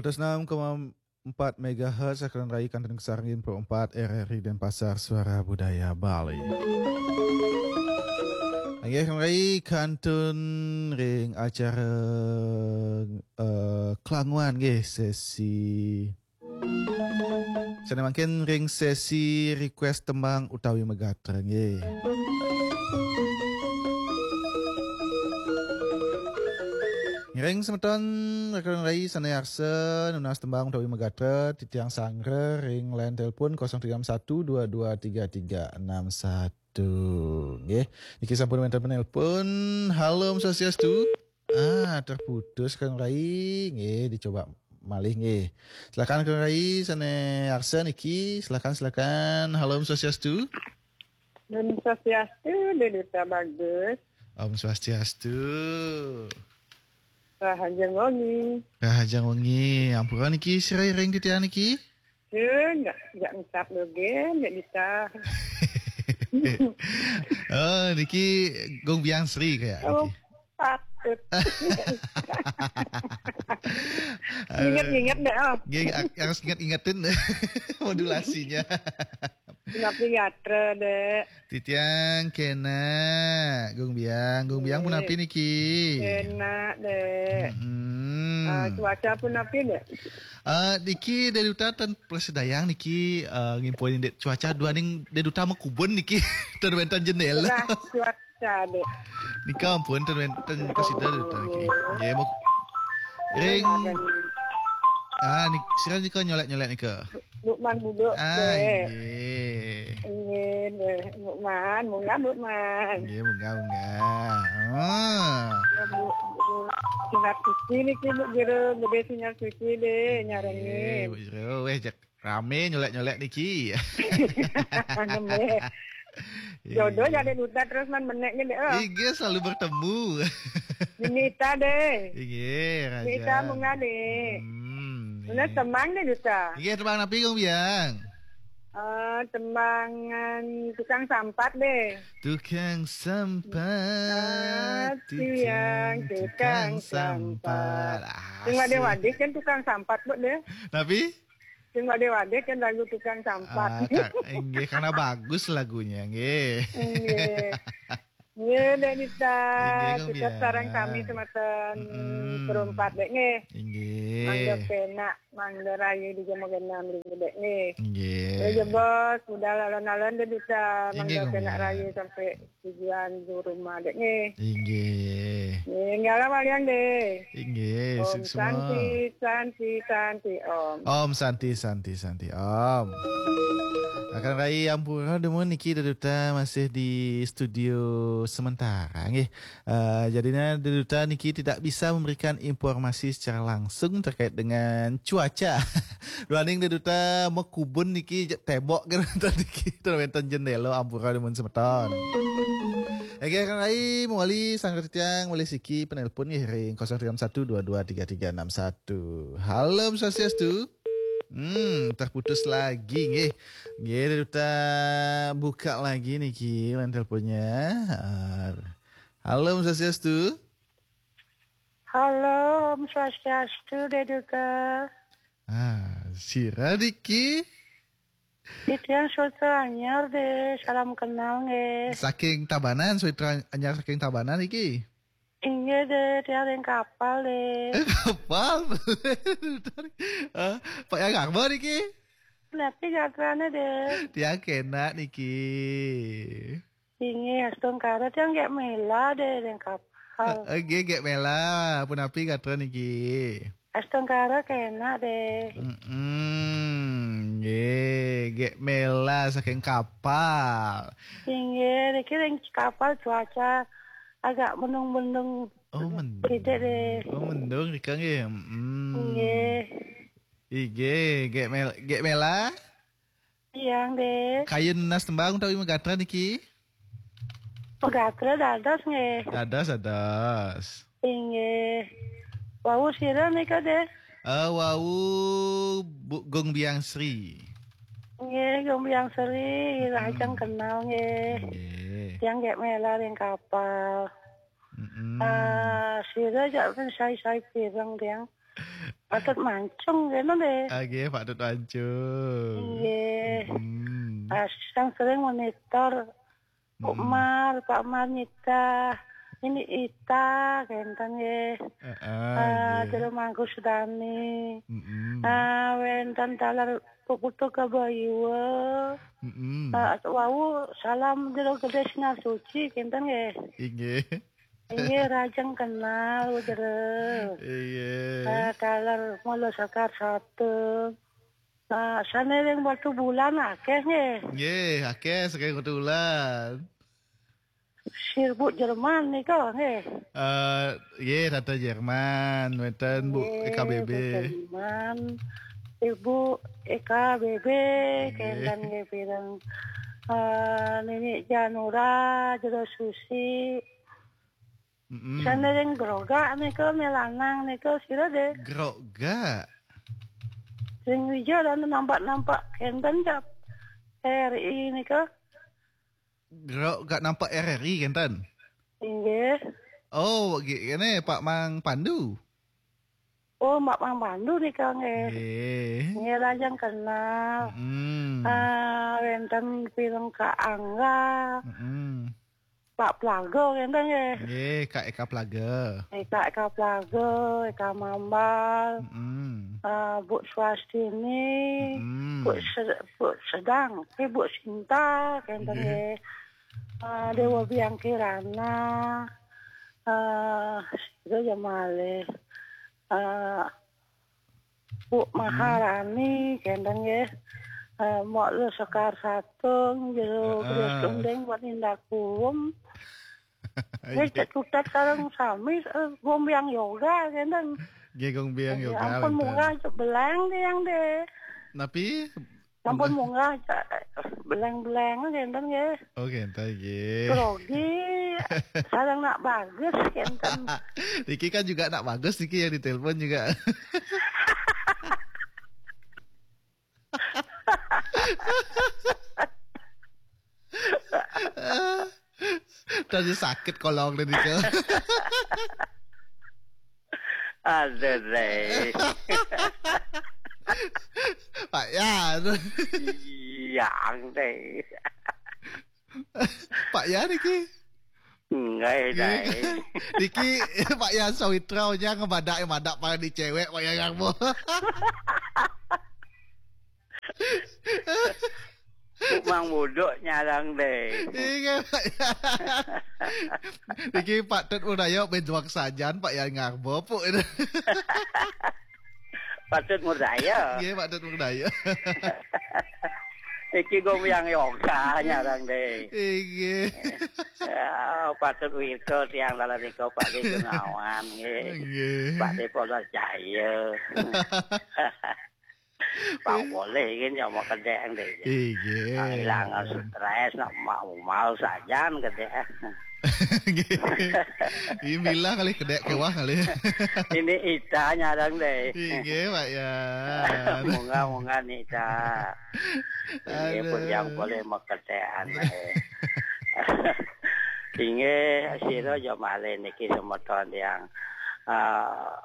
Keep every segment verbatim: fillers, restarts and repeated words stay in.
Terus enam koma empat megahertz, akan rai kantun kesarengin pro empat R R I Denpasar, Suara Budaya Bali. Inggih, rai kantun ring acara, eh, kelanguan nggih, sesi. Sane mangkin ring sesi request tembang utawi magatra nggih. Ngiring semeton rekan rai sane arsa nunas tembang utawi magatra, titiang sanggra ring line telepon kosong tiga enam satu dua dua tiga tiga enam satu. Nggih. Niki sampun wenten penelpon. Halo, Om Swastiastu. Ah, terputus Kang Rai. Nggih, dicoba malih nggih. Silakan Kang Rai sane arsa niki. Silakan, silakan. Halo, Om Swastiastu. Om Swastiastu, Dé Duta Bagus. Om Swastiastu. Rahajeng wengi. Rahajeng wengi. Ampura niki sira ring titiang niki? Duh, enggak, enggak ngucap dogen, enggak bisa. Oh, niki Gung Biang Sri kayak. Oh, niki patut. Ingat-ingat deh, oh. Nggih, ak-, harus ingat-ingatin modulasinya. Punapi gatra, Dek? Titiang kena, Gung Biang. Gung Biang punapi niki? Kena, Dek. Mm-mm. Ah, cuaca punapi, Dek? Ah, niki Dé Duta ten prasida niki, ah, ngimpun indik cuaca duaning Dé Duta makubun niki. Ten wenten jendela. Nah, cuaca, Dek. Nika ampun ten wenten prasida Dé Duta niki. Nggih, muk-, ring. Ah, nik-, sira nika nyolek-nyolek nika. Lukman Buduk, ah, Dek. Inggih. Inggih, Dek. Lukman, munggah, Lukman. Inggih, munggah, munggah. Ah. Ya, Bu, Bu. Sinar suci niki, Bu Guru, Bu Dé sinar suci, Dek, nyarengin. Inggih, Bu Guru. Weh, jak rame nyolek-nyolek niki. Nembé. Jodoh. Iya. Jadi duta terus man menek ni, Dek, oh. Inggih, selalu bertemu. Nita, Dek. Inggih, Raja. Nita munggah, Dek. Hmm, bener, inggih. Tembang, Dek, duta. Inggih, tembang napi, Gung Biang? Eh, tembangan tukang sampat, Dek. Tukang sampat, ah, tiang tukang sampat. Asik. Sing wadih-wadih kan tukang sampat, Bu, Dek. Napi? Sing wadih-wadih kan lagu tukang sampat. Ah, ka-, inggih, karena bagus lagunya, nggih. Inggih. Nggih, Dek Nita. Inggih, Gung Biang. Sareng sami semeton, mm-mm, perumpat, Dek, nggih. Inggih. Mangga penak, mangga rahayu di jam genah mriki, Dek, nggih. Inggih. Nggih, jebos, budal alon-alon, Dek Nita. Inggih, Gung Biang. Mangga penak rahayu sampai tujuan di rumah, Dek, nggih. Inggih. Nggih, nggih, alam alian, Dek. Inggih, Om suksma. Santi, Santi, Santi, Om. Om Santi, Santi, Santi, Om. Akan rai ampura dumun niki Dé Duta masih di studio sementara, nggih. Eh, jadinya Dé Duta niki tidak bisa memberikan informasi secara langsung terkait dengan cuaca. Duaning Dé Duta makubun niki, je-, tebok kan niki, ten wenten jendela, ampura dumun semeton. Oke, Kang Rai, mawali sanggra titiang malih siki penelpon nggih ring kosong tiga satu dua dua tiga tiga enam satu. Halo, Om Swastiastu. Hmm, terputus lagi nggih. Nggih, Dé Duta buka lagi niki line teleponnya. Ah, halo, Om Swastiastu. Halo, Om Swastiastu, Dé Duta. Ah, sira niki? Titiang Sutra Anyar, Dé. Salam kenal, nggih. Saking Tabanan, Sutra Anyar saking Tabanan niki? Inggih, Dé, tiang ring kapal, Dé. Eh, kapal. Ah, Pak Yang Garba niki? Napi gatrane, Dé? Tiang kena niki. Inggih, astungkara tiang Gék Méla, Dé, ring kapal. Eh, eh, nggih, Gék Méla, punapi gatra niki? Astungkara kena, Dé. Mm-mm, nggih, Gék Méla saking kapal. Inggih, niki ring kapal cuaca agak mendung-mendung. Oh, mendung. Sithik, Dé. Oh, mendung rika nggih. Mm-mm. Nggih. Inggih, Gék Mél-, Gék Méla? Tiang, Dé. Kayun nunas tembang utawi magatra niki? Magatra dados nggih. Dados, dados. Inggih. Wau sira nika, Dé? Eh, wau Bu-, Gung Biang Sri. Nggih, Gung Biang Sri, rahajeng kenal nggih. Nggih. Tiang Gék Méla ring kapal. Mm-mm. Ah, sira jak sai-sai pireng tiang. Patut mancung kene deh. Oke, Pak Tut Mancung. Iya. Hmm. Asang sering monitor Pak Mar, Pak Mar Nita. Ini Ita, kenten nggih. Heeh, ah, nggih. Jero Mangku Sedani. Mm-mm. Ah, wenten taler Puputu Kabayua. Mm-mm. Ah, wau salam jero Gede Sinar Suci, kenten nggih. Inggih. Inggih, rajeng kenal, jero. Inggih. Ah, taler Mula Sekar Satu. Ah, sane ring Batu Bulan akeh nggih. Nggih, akeh saking Batu Bulan. Sirbuk Jerman nika nggih. Eh, nggih, Tante Jerman, wenten Bu. Nggih, Eka B B. Tante Jerman, Ibu Eka B B, nggih. Kenten nggih pireng. Eh, Nini Janura, Jero Susi. Mm-mm. Sane ring Grogak nika, me lanang nika, sira deh. Grogak. Sing wija dan nampak-nampak kenten cap R I nika. Grogak nampak R R I kenten. Inggih. Oh, gi-, kene Pak Mang Pandu. Oh, Mak Mang Pandu nika nggih. Nggih. Nggih, rajeng kenal. Mm-mm. Ah, wenten pireng Kak Angga. Mm-mm. Pak Plaga kenten nggih. Nggih, Kak Eka Plaga. Eh, Kak Eka Plaga, Eka Mambal. Mm-mm. Ah, Bu Swastini, mm-mm. Bu Se-, Bu Sedang, eh, Bu Sinta, kenten nggih. Nggih. Ah, Dewa Biang Kirana, ah, sira ya malih. Ah, Bu, mm-mm. Maharani, kenten nggih. Ah, Mok Lu Sekar Satung, Jero, heeh. Terus Gendeng, buat Indah Kuwem. Nggih, iya. Cek Kutat sareng sami, eh, Gombyang Yoga, kenten. Nggih, Gombyang Yoga, ampun, wenten. Munggah cek beleng tiang deh. Napi? Ampun, munggah cek beleng-beleng, kenten nggih. Oh, kenten nggih. Grogi, sareng nak bagus, kenten. Niki kan juga nak bagus, niki yang ditelepon juga. Tadi sakit kolong deh nika. Aduh, deh. Pak Yan. Yang deh. Pak Yan niki. Enggak, ya, nggih. Dai. Niki Pak Yan Sawitra nya ngebadak, madak para di cewek, Pak Yan Ngarbo. Mang Buduk nyarang deh. Iya, Pak Yan. Niki Pak Tut Udayo ben juang sajan, Pak Yan Ngarbo, Puk. Patut murdaya. Nggih, patut murdaya. Iki Gombyang Yoga nyarang deh. Nggih. Ya, patut wirga tiang dalan nika, Pak De Gunawan, nggih. Nggih. Pak De Polos Jaya. Pak boleh iki nyama kedek deh. Nggih. Ah, ilang stres, nak mau, mau sajan kedek. Nggih. Ini bilang kali kedek kewah kali. Ini Ita nyarang deh. Nggih, Pak Yan. Munggah-munggah nih, Ita. Ini pun aduh. Yang boleh meketekan, eh. Inggih, sira ya malih niki semeton yang, ah,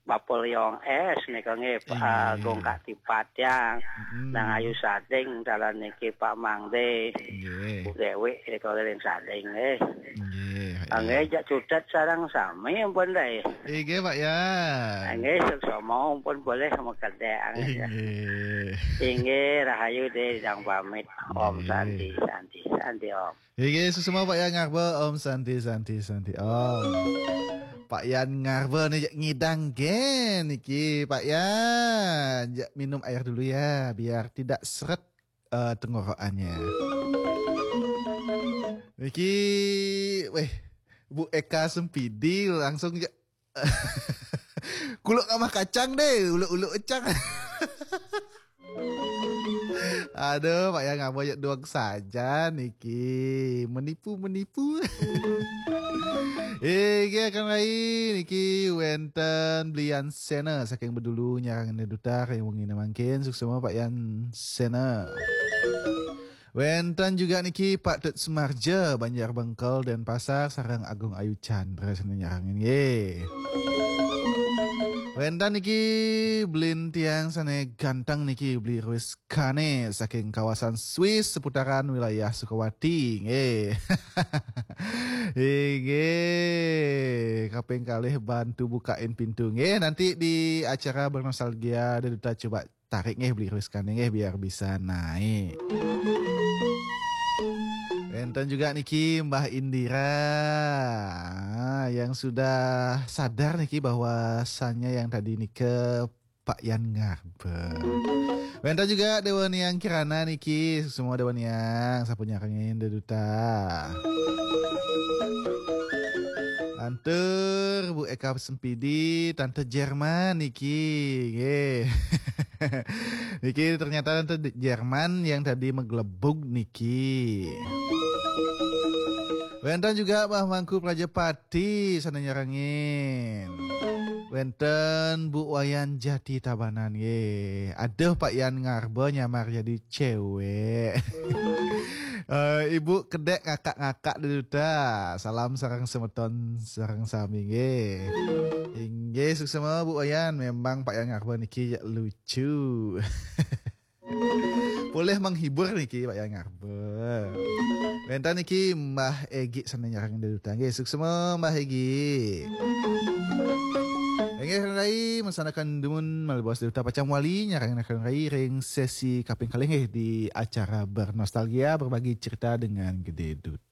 Napoleon S nika nggih, Pak, ah, nggih. Agung Kak Tipat yang, mm-mm. Nang Ayu Sading, dalan niki Pak Mangde. Nggih. Bu Dewi, nika ring Sading nggih. Nggih, ah, nggih, ya. Jak Cutet sareng sami ampun dai. Nggih, Pak Yan. Ah, nggih, suksma ampun boleh mekedek. Nggih. Inggih, rahayu deh, dang pamit. Om nggih. Santi, Santi, Santi, Om. Nggih, suksma Pak Yan Ngarbo, Om Santi, Santi, Santi, Om. Pak Yan Ngarbo nih ngidang gen niki, Pak Yan. Ya, minum air dulu ya, biar tidak seret, eh, tenggorokannya. Niki, weh, Bu Eka Sempidi langsung ya. Kuluk kamah kacang deh, uluk-uluk ecang. Aduh, Pak Yan Ngarbo ya duang saja niki. Menipu, menipu. Eh, nggih, akan lain niki wenten Blian Sena saking Bedulu nyarang dutar yang wengi mangkin, suksma Pak Yan Sena. Wenten juga niki Pak Tut Sumarja, Banjar Bengkel, Denpasar, sareng Agung Ayu Chandra sane nyarengin nggih. Wénten niki belin tiang sané ganteng niki, Beli Ruiskane saking kawasan Swiss seputaran wilayah Sukawati. Nggih. Inggih, kaping kalih bantu bukain pintu. Nggih, nanti di acara bernostalgia Deduta coba tarik nggih Beli Ruiskane nggih biar bisa naik. Wénten juga niki Mbah Indira, ah, yang sudah sadar niki bahwasanya yang tadi nika Pak Yan Ngarbe. Wénten juga Dewa Niang Kirana niki, semua Dewa Niang, sampun nyarengin Deduta. Antur Bu Eka Sempidi, Tante Jerman niki. Nggih. Niki ternyata Tante Jerman yang tadi meglebug niki. Wénten juga Mbah Mangku Prajapati sané nyarengin. Wénten Bu Wayan Jati Tabanan nggih. Aduh, Pak Yan Ngarbe nyamar jadi cewek. Eh, Ibu kedék ngakak-ngakak Deduta. Salam sareng semeton sareng sami nggih. Inggih, suksma Bu Wayan, memang Pak Yan Ngarbe niki lucu. Boleh menghibur niki Pak Yan Ngarbe. Wénten niki Mbah Egi sané nyarengin Deduta. Nggih, suksma Mbah Egi. Inggih, Rai, mesanakan dumun malih baos Deduta pacang wali nyarengin Rai ring sesi kaping kalih nggih di acara bernostalgia, berbagi cerita dengan Gede Duta.